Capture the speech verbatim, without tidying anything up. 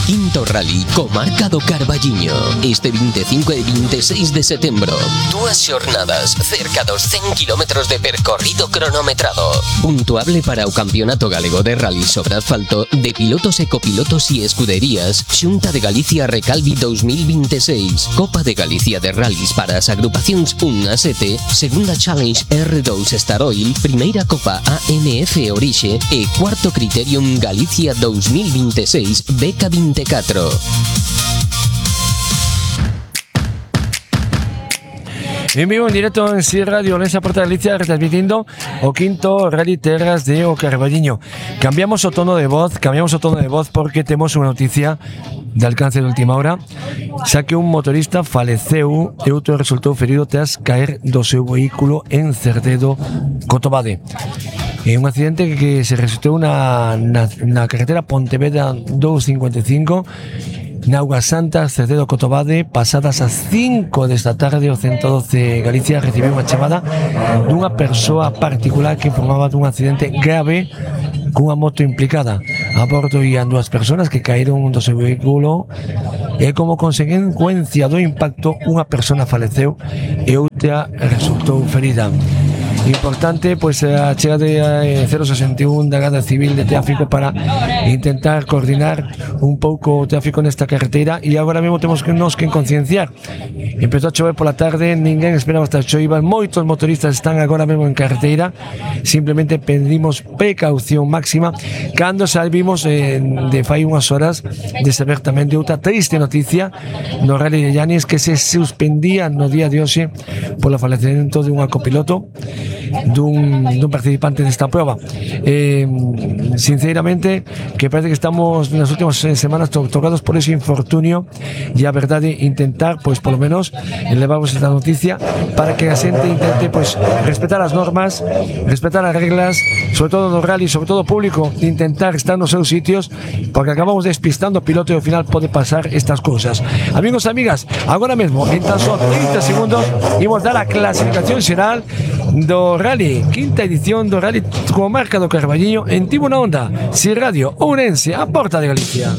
Quinto Rally Comarca do Carballiño. Este vinte e cinco e vinte e seis de setembro. Dúas xornadas, cerca dos cen kilómetros de percorrido cronometrado. Puntuable para o Campeonato Galego de Rally sobre asfalto de pilotos e copilotos e escuderías. Xunta de Galicia Recalvi dos mil vinte e seis. Copa de Galicia de Rallys para as agrupacións un a sete. Segunda Challenge R dous Star Oil. Primeira Copa A M F Orixe. E cuarto Criterium Galicia dos mil vinte e seis Beca veinticuatro. En vivo, en directo en C Radio Orense Porta Galicia, retransmitindo o quinto Rally Terras de O Carballiño. Cambiamos o tono de voz, cambiamos o tono de voz porque temos unha noticia de alcance de última hora, xa que un motorista faleceu e outro resultou ferido tras caer do seu vehículo en Cerdedo, Cotobade. É un accidente que se registrou na, na, na carretera Pontevedra doscientos cincuenta e cinco na Auga Santa, Cerdedo, Cotobade, pasadas as cinco desta tarde. O ciento doce Galicia recibiu unha chamada dunha persoa particular que informaba dun accidente grave cunha moto implicada. A bordo ian dúas persoas que caíron do seu vehículo e como consecuencia do impacto unha persona faleceu e outra resultou ferida. Importante, pois a chega de cero sesenta e un da Garda Civil de Tráfico para intentar coordinar un pouco o tráfico nesta carretera, e agora mesmo temos que nos que concienciar. Empezou a chover pola tarde, ninguén esperaba esta choiva, moitos motoristas están agora mesmo en carretera. Simplemente pedimos precaución máxima cando salvimos eh, de fai unhas horas de saber tamén de outra triste noticia no Rally de Llanes, que se suspendía no día de hoxe polo falecemento de unha copiloto dun, dun participante desta prova. Eh, sinceramente, que parece que estamos nas últimas semanas to tocados por ese infortunio, e a verdade, intentar, pois, polo menos, elevamos esta noticia para que a xente intente, pois, respetar as normas, respetar as reglas, sobre todo no rally, sobre todo o público, de intentar estar nos seus sitios, porque acabamos despistando o piloto e ao final pode pasar estas cousas. Amigos e amigas, agora mesmo, en tan só trinta segundos, imos dar a clasificación xeral do Rally, quinta edición do Rally Comarca do Carballiño en Tibo na Onda, C Radio Ourense, a Porta de Galicia.